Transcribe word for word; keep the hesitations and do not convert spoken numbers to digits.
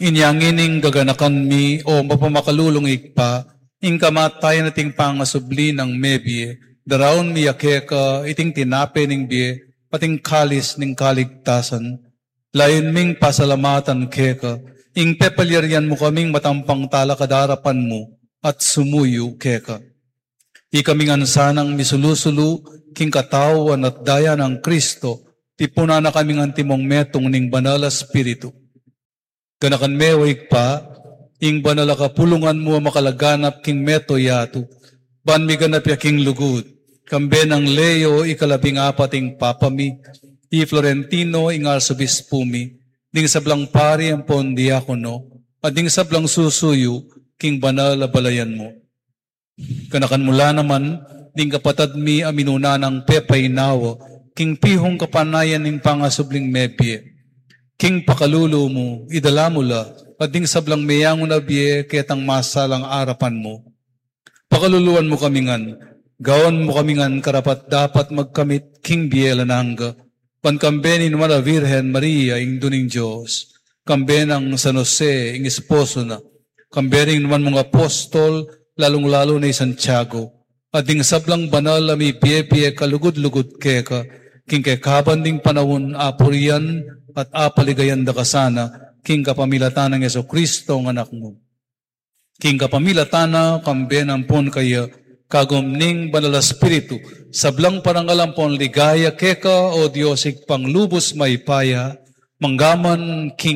Inya ngening gaganakan mi, o mapamakalulung Ibpa, ing kamatayan at ing pangasubli nang mebie, daraun mi ya keka iting tinape ning bie, at ing kalis ning kaligtasan. Layun ming pasalamatan keka, ing pepalyarian mu kaming matampang talakad arapan mu, at sumuyu keka. Ikami ngan sanang misulu-sulu king katawan at daya nang Kristo, tipunan na kaming antimong metung ning Banal a Espiritu. Ganakan me, o Ibpa, ing banal a kapulungan mu a makalaganap king mabilug a yatu, ban miganap ya king lugud, kambe nang Leo ikalabing apat ing Papa mi, i Florentino ing Arsobispu mi, ding sablang pari ampon diakono, at ding sablang susuyu king banal a balayan mu. Ganakan mu la naman ding kapatad mi a minuna nang pepainawa king pihung kapanayan ning pangasubling mebie. King pakalulu mu, idala mu la, at ding sablang meyangu na bie ketang masalang arapan mu. Pakaluluan mu kami ngan, gawan mu kami ngan karapat-dapat magkamit king bie alang angga, ban kambe ning Nuan a Virgen Maria, Indu ning Dios, kambe nang San Jose, ing esposo na, kambe ring nuan mung apostol, lalung-lalu na i Santiago, at ding sablang banal a mibie-bie kalugud-lugud keka, king kekaban ding panaun apurian at apaligayan da ka sana, king kapamilatan nang Jesucristo, ing Anak mu. King kapamilatan na, kambe na ampon kaya, kagum ning Banal a Espiritu, sablang parangal ampon ligaya keka, o Dios Ibpang lubus mayupaya, mangga man king